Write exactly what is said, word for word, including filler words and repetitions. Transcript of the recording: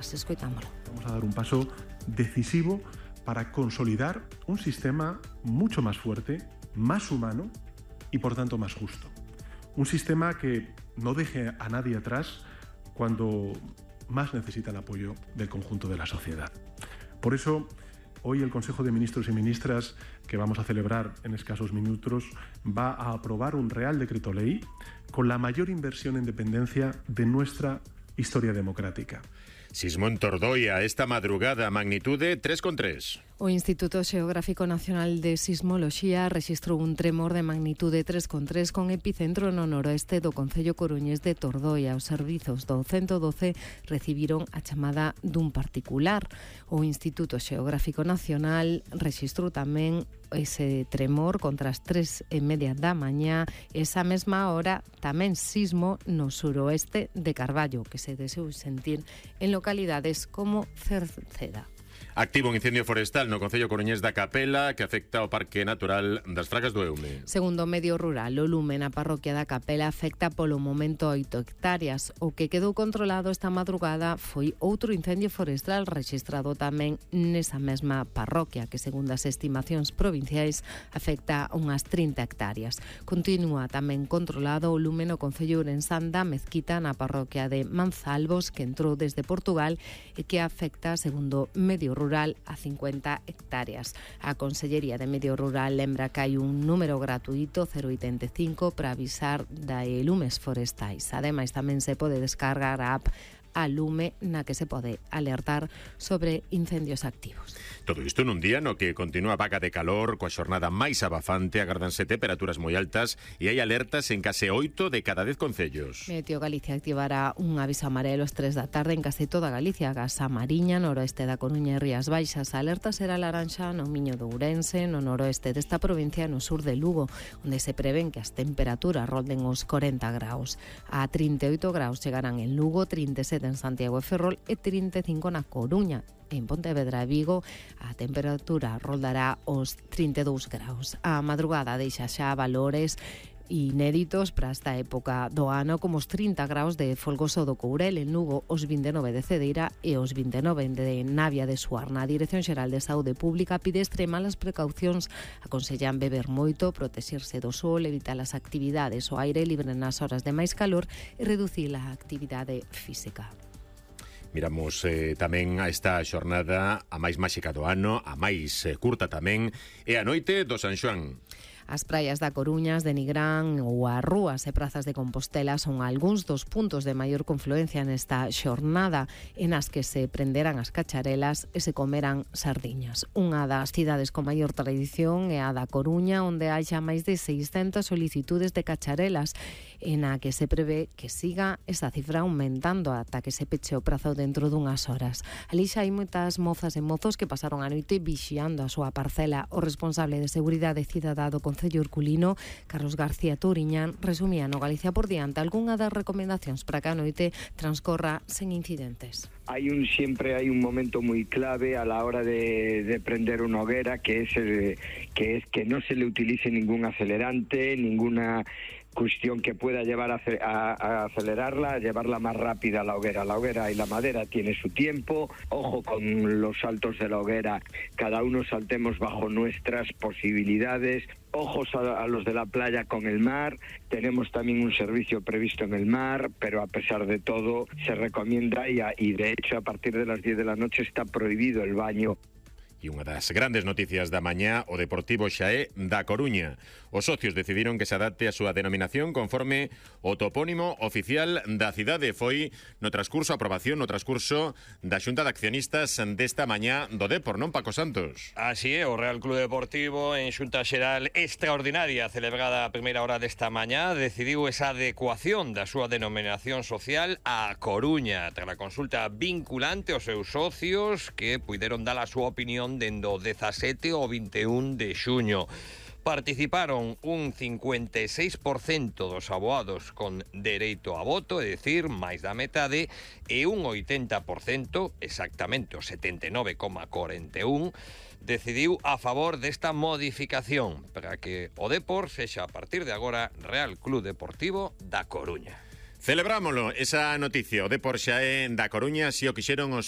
Escoitámolo. Vamos a dar un paso decisivo para consolidar un sistema mucho más fuerte, más humano y por tanto más justo. Un sistema que no deje a nadie atrás cuando más necesita el apoyo del conjunto de la sociedad. Por eso, hoy el Consejo de Ministros y Ministras, que vamos a celebrar en escasos minutos, va a aprobar un Real Decreto Ley con la mayor inversión en dependencia de nuestra historia democrática. Sismo en Tordoia esta madrugada, magnitude tres coma tres. O Instituto Xeográfico Nacional de Sismoloxía rexistrou un tremor de magnitude tres coma tres con epicentro no noroeste do concello coruñés de Tordoia. Os servizos do ciento doce recibiron a chamada dun particular. O Instituto Xeográfico Nacional rexistrou tamén ese tremor contra as tres e media da mañá. Esa mesma hora tamén sismo no suroeste de Carballo, que se deseu sentir en localidades como Cerceda. Activo un incendio forestal no concello coruñés da Capela que afecta ao Parque Natural das Fragas do Eume. Segundo o medio rural, o lume na parroquia da Capela afecta polo momento oito hectáreas. O que quedou controlado esta madrugada foi outro incendio forestal rexistrado tamén nesa mesma parroquia, que segundo as estimacións provinciais afecta unhas trinta hectáreas. Continúa tamén controlado o lume no concello ourensán da Mezquita na parroquia de Manzalbos, que entrou desde Portugal e que afecta, segundo medio rural, a cincuenta hectáreas. A Consellería de Medio Rural lembra que hai un número gratuito cero oitenta e cinco para avisar de lumes forestais. Ademais, tamén se pode descargar a app a Lume, na que se pode alertar sobre incendios activos. Todo isto nun día no que continúa a vaga de calor, coa xornada máis abafante, agárdanse temperaturas moi altas e hai alertas en case oito de cada dez concellos. Meteo Galicia activará un aviso amarelo ás tres da tarde en case toda Galicia, gas a Mariña, noroeste da Coruña e Rías Baixas. A alerta será laranxa no Miño de Ourense, no noroeste desta provincia, no sur de Lugo, onde se prevén que as temperaturas rolden os corenta graus. A trinta e oito graus chegarán en Lugo, trinta e sete en Santiago e Ferrol e trinta e cinco na Coruña. En Pontevedra e Vigo a temperatura roldará os trinta e dous graus. A madrugada deixa xa valores inéditos para esta época do ano, como os trinta graus de Folgoso do Courel, en Lugo os vinte e nove de Cedeira e os vinte e nove de Navia de Suarna. A Dirección Xeral de Saúde Pública pide extremas precaucións, aconsellan beber moito, protexerse do sol, evitar as actividades ao aire libre nas horas de máis calor e reducir a actividade física. Miramos eh, tamén a esta xornada a máis máxica do ano, a máis eh, curta tamén, e a noite do San Xoán. As praias da Coruñas, de Nigrán ou as rúas e prazas de Compostela son algúns dos puntos de maior confluencia nesta xornada en as que se prenderán as cacharelas e se comerán sardiñas. Unha das cidades con maior tradición é a da Coruña, onde hai xa máis de seiscentas solicitudes de cacharelas, en a que se prevé que siga esa cifra aumentando ata que se peche o prazo dentro dunhas horas. Ali xa hai moitas mozas e mozos que pasaron a noite vixiando a súa parcela. O responsable de Seguridade Cidadá do Concello Urculino, Carlos García Touriñán, resumía no Galicia por diante algunha das recomendacións para que a noite transcorra sen incidentes. Hay un siempre hay un momento muy clave a la hora de, de prender una hoguera, que es el, que es que no se le utilice ningún acelerante, ninguna cuestión que pueda llevar a, a, a acelerarla, a llevarla más rápida a la hoguera. La hoguera y la madera tiene su tiempo. Ojo con los saltos de la hoguera, cada uno saltemos bajo nuestras posibilidades. Ojos a, a los de la playa con el mar. Tenemos también un servicio previsto en el mar, pero a pesar de todo se recomienda y, a, y de hecho a partir de las diez de la noche está prohibido el baño. E unha das grandes noticias da mañá, o Deportivo xa é da Coruña. Os socios decidiron que se adapte a súa denominación conforme o topónimo oficial da cidade. Foi no transcurso, aprobación no transcurso da Xunta de Accionistas desta mañá do Depor, non, Paco Santos? Así é, o Real Club Deportivo en Xunta Xeral extraordinaria celebrada a primeira hora desta mañá decidiu esa adecuación da súa denominación social a Coruña, tras a consulta vinculante aos seus socios que puideron dar a súa opinión dende o dezasete ao vinte e un de xuño. Participaron un cincuenta e seis por cento dos aboados con dereito a voto, é dicir, máis da metade, e un oitenta por cento, exactamente o setenta e nove coma cuarenta e un, decidiu a favor desta modificación para que o Depor sexa a partir de agora Real Club Deportivo da Coruña. Celebrámolo, esa noticia, o Depor xa é da Coruña, si o quixeron os